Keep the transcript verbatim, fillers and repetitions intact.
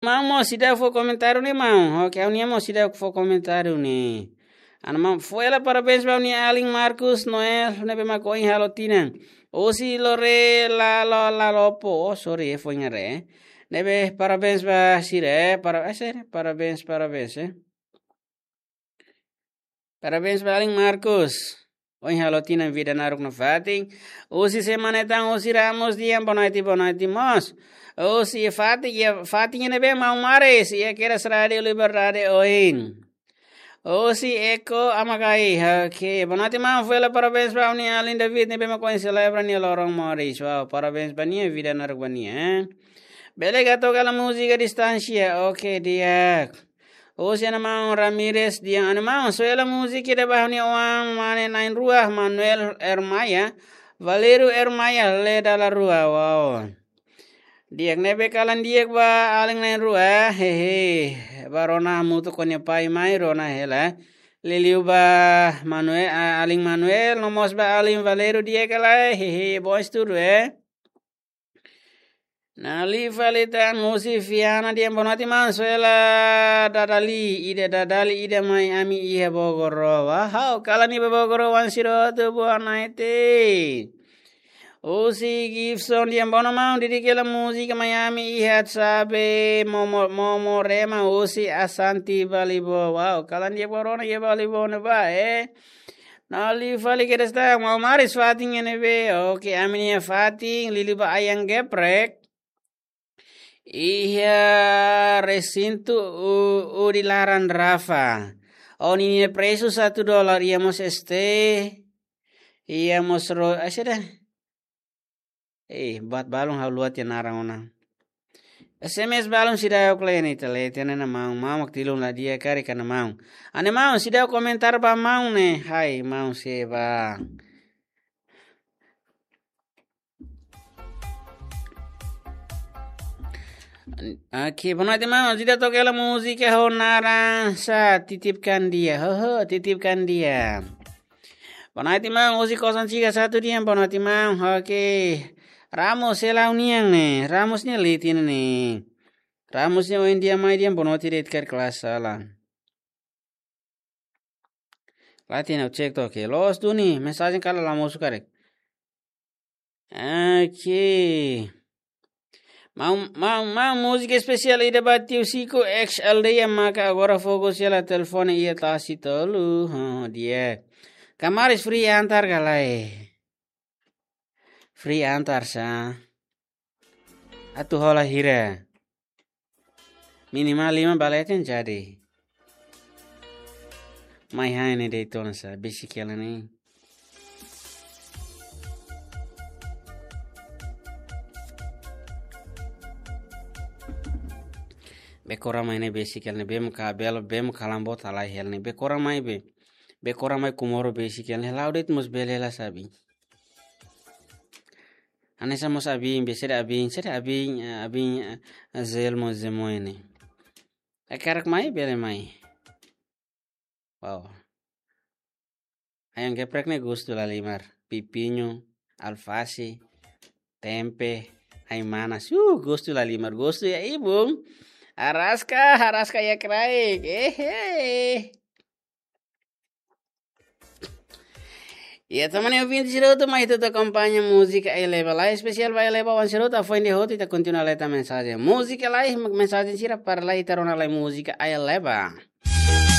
Maun mós seidauk fó komentáriu ne'e, maun. Oke, ha'u-nian mós seidauk fó komentáriu ne'e. Ana maun, fó hela parabéns ba ha'u-nia alin Marcos Noel, ne'ebé mak ohin halo tinan. Husi Lore Lalo Lalopo. Oh, sorry, eh, foin haree, eh. Ne'ebé parabéns ba sira, eh. Para, eh, sira, parabéns, parabéns, eh. Parabéns ba alin Marcos. Ohin halo tinan vida naruk nafatin. Husi Semana Tan, husi Ramos Dian, boa noite, boa noite, mós. Husi Fatin, iha Fatin ne'ebé maun Maris, iha kedas Rádio Liberdade ohin. Husi Eko Amakai, oke. Boa noite, maun, fó hela parabéns ba ha'u-nia alin David, ne'ebé mak ohin selebra nia loron moris. Wow, parabéns ba nia, vida naruk ba nia, eh. Bele ka toka hela múzika Distánsia, oke, di'ak. Husi ana maun Ramirez, di'ak, ana maun, só hela múzika ida ba ha'u-nia oan mane na'in-rua, Manuel Ermaia, Valerio Ermaia, Leda La Rua, wow. Di'ak, ne'ebé kalan di'ak ba alin na'in-rua, hehe. Ba rona hamutuk ho nia pai mai, rona hela. Liuliu ba Manuel, a-, alin Manuel, no mós ba alin Valerio, di'ak ka lae, hehe, bom estudo, eh. Nali fali tan husi Fiana, di'ak, boa noite, maun, só hela dada-lee ida, dada-lee ida mai ami iha Bogoro. Wow, kalan ida ba Bogoro, wan sira hotu, boa noite. Husi Gibson, di'ak, boa noite, maun, dedika hela múzika mai ami iha Sabe, Momo, Momo Rema, husi Asanti Balibo. Wow, kalan di'ak ba rona iha Balibo ne'ebá, eh. Nali fali kedas tan, maun Maris, Fatin ne'ebé. Oke, ami-nia Fatin, liuliu ba Ayang Geprek. Iha resintu u-, udi laran Rafa. Ó-nia presu satu dolar, iha mós este. Iha mós ro-, ah, sira. Eh, buat balun ha'u haluha tiha naran ona. S M S balun seidauk, kle'an ita leten ona maun, maun mak tilun la di'ak karik, ana maun. Ana maun, seidauk komentar ba maun ne'e. Hai, maun Seba. Oke, boa noite, maun. Seidauk toka hela múzika ho naran sá, Titipkan Dia. Ho, ho, Titipkan Dia. Boa noite, maun. Husi Kosan Siga Satu, di'ak, boa noite, maun. Oke. Ramos, sela ha'u-nian ne'e. Ramos ne'e leten ne'e. Ramos ne'e ohin di'ak mai, di'ak, boa noite, di'ak, karik la sala. Leten, ha'u cek to'ok. Loos duni, mensajen kala la mosu karik. Oke. Maun, maun, maun, múzika espesiál ida ba tiu Siko ex aldeia maka agora fokus hela telefone iha tasi tolu. Oh, di'ak. Kamaris free antar ka lae? Free antar sá. Atu hola hira? Minimal lima ba leten jadi. Mai hanesan ne'e de'it ona sá, besik hela ne'e. Be kora mai ne'e besik hela ne'e, be mak belo, be mak kalan bot halai hela ne'e. Be kora mai be. Be kora mai Comoro besik hela ne'e. La'o de'it mós bele la sabi. Hanesan mós abin, be sede abin, sede abin, eh, abin, eh, Azel mós Zemoine. Hakarak mai, bele mai. Wow. Ayam geprek ne'e gostu lahalimar. Pipinho, alfase, tempe, ai-manas. Uh, gostu lahalimar, gostu iha ibun. Araska, araska iha kraik. Ehe. Iha, ita-nia ouvinte sira hotu, mai ita akompaña múzika Ai Leba, lae espesiál ba Ai Leba, oan sira hotu, foin de'it ita kontinua leta mensajen. Múzika lae, mensajen sira para lae, ita rona lae múzika Ai Leba.